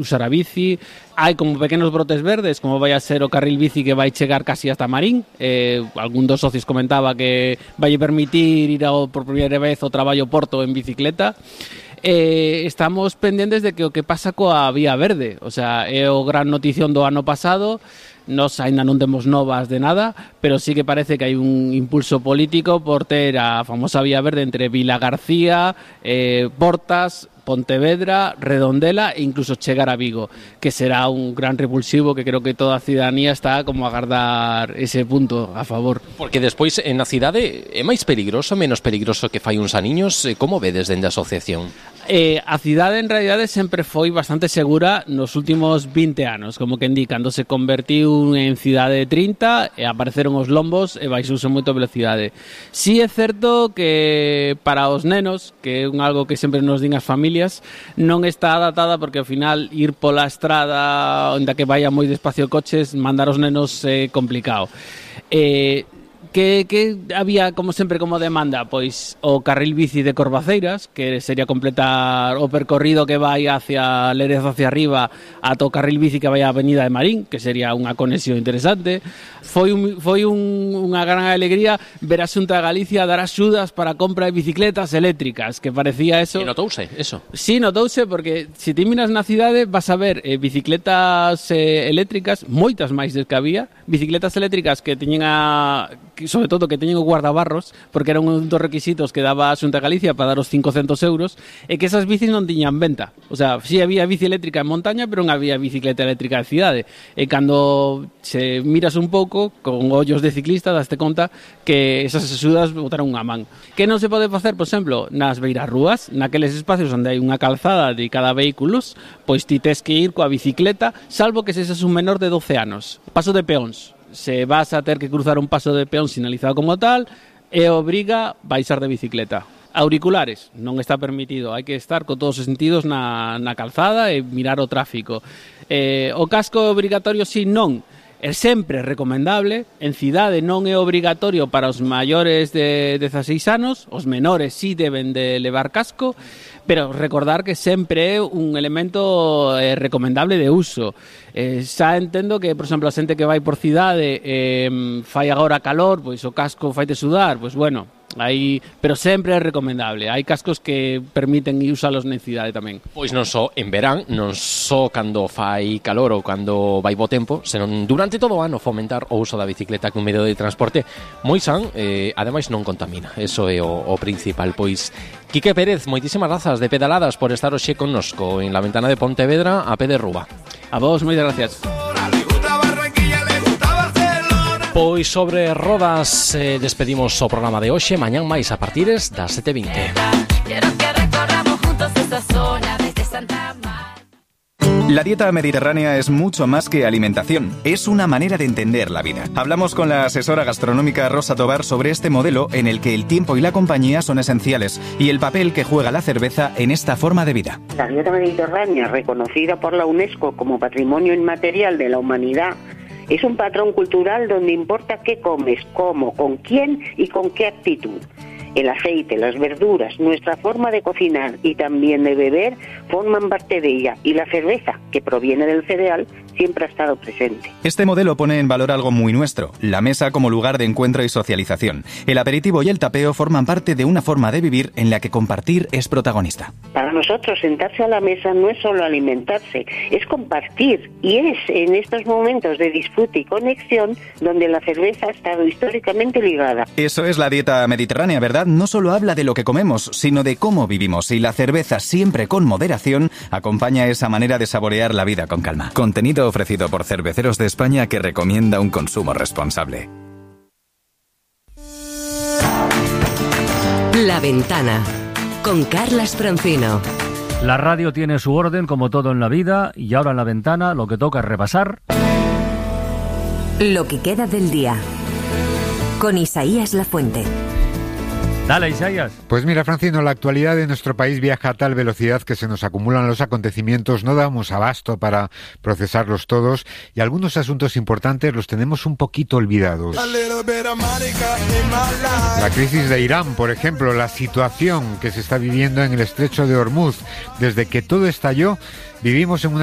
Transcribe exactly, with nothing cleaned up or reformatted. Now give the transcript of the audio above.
usar a bici. Hai como pequenos brotes verdes, como vai a ser o carril bici que vai chegar casi hasta Marín. Eh, algún dos socios comentaba que vai permitir ir ao, por primeira vez ao traballo Porto en bicicleta. Eh, estamos pendentes de que o que pasa coa Vía Verde, o sea, é o gran notición do ano pasado. Nos ainda non temos novas de nada, pero sí que parece que hai un impulso político por ter a famosa Vía Verde entre Vilagarcía, eh, Portas, Pontevedra, Redondela e incluso chegar a Vigo, que será un gran revulsivo que creo que toda a cidadanía está como a agardar ese punto a favor. Porque despois en a cidade é máis peligroso, menos peligroso que fai uns aniños, como vedes dende a asociación? Eh, a cidade en realidade sempre foi bastante segura nos últimos vinte anos, como que indi, cando se convertiu en cidade de trinta e apareceron os lombos e baixouse moito a velocidade. Si é certo que para os nenos, que é un algo que sempre nos din as familias, non está adaptada porque ao final ir pola estrada onde que vaya moi despacio coches, mandar os nenos é complicado. Eh, Que, que había, como sempre, como demanda? Pois o carril bici de Corvaceiras, que sería completar o percorrido que vai hacia Lérez hacia arriba ata o carril bici que vai á Avenida de Marín, que sería unha conexión interesante. Foi, un, foi un, unha gran alegría ver a Xunta de Galicia dar axudas para a compra de bicicletas eléctricas, que parecía eso... E notouse eso? Sí, notouse, porque se ti miras na cidade vas a ver eh, bicicletas eh, eléctricas, moitas máis des que había, bicicletas eléctricas que teñen a... sobre todo que teñen o guardabarros, porque era un dos requisitos que daba a Xunta de Galicia para dar os cincocentos euros, e que esas bicis non tiñan venta. O sea, si había bici eléctrica en montaña, pero non había bicicleta eléctrica de cidade. E cando se miras un pouco, con ollos de ciclista, daste conta que esas axudas botaron unha man. Que non se pode facer, por exemplo, nas beirarrúas, naqueles espacios onde hai unha calzada de cada vehículos, pois ti tes que ir coa bicicleta, salvo que sexas un menor de doce anos. Paso de peóns. Se vas a ter que cruzar un paso de peón sinalizado como tal, e obriga baixar de bicicleta. Auriculares, non está permitido, hai que estar con todos os sentidos na, na calzada e mirar o tráfico. Eh, o casco obrigatorio si non, é sempre recomendable, en cidade non é obrigatorio para os maiores de dezaseis anos, os menores si deben de levar casco, pero recordar que sempre é un elemento eh, recomendable de uso. Eh, xa entendo que, por exemplo, a xente que vai por cidade eh, fai agora calor, pois o casco faite sudar, pois bueno, aí, pero sempre é recomendable. Hai cascos que permiten usalos na cidade tamén. Pois non só en verán, non só cando fai calor ou cando vai bo tempo, senón durante todo o ano fomentar o uso da bicicleta como medio de transporte moi san, eh, ademais non contamina. Eso é o, o principal. Pois Quique Pérez, moitísimas grazas de pedaladas por estar hoxe connosco en la ventana de Pontevedra a pé de Rúa. A vos, moitas gracias. Pois sobre rodas eh, despedimos o programa de hoxe. Mañán máis a partires das sete e vinte. La dieta mediterránea es mucho más que alimentación, es una manera de entender la vida. Hablamos con la asesora gastronómica Rosa Tobar sobre este modelo en el que el tiempo y la compañía son esenciales y el papel que juega la cerveza en esta forma de vida. La dieta mediterránea, reconocida por la UNESCO como Patrimonio Inmaterial de la Humanidad, es un patrón cultural donde importa qué comes, cómo, con quién y con qué actitud. El aceite, las verduras, nuestra forma de cocinar y también de beber forman parte de ella, y la cerveza, que proviene del cereal, siempre ha estado presente. Este modelo pone en valor algo muy nuestro, la mesa como lugar de encuentro y socialización. El aperitivo y el tapeo forman parte de una forma de vivir en la que compartir es protagonista. Para nosotros sentarse a la mesa no es solo alimentarse, es compartir, y es en estos momentos de disfrute y conexión donde la cerveza ha estado históricamente ligada. Eso es la dieta mediterránea, ¿verdad? No solo habla de lo que comemos, sino de cómo vivimos, y la cerveza, siempre con moderación, acompaña esa manera de saborear la vida con calma. Contenido ofrecido por Cerveceros de España, que recomienda un consumo responsable. La Ventana, con Carlas Francino. La radio tiene su orden, como todo en la vida, y ahora en La Ventana lo que toca es repasar lo que queda del día, con Isaías Lafuente. Dale, Isaías. Pues mira, Francino, la actualidad de nuestro país viaja a tal velocidad que se nos acumulan los acontecimientos, no damos abasto para procesarlos todos y algunos asuntos importantes los tenemos un poquito olvidados. La crisis de Irán, por ejemplo, la situación que se está viviendo en el estrecho de Hormuz. Desde que todo estalló, vivimos en una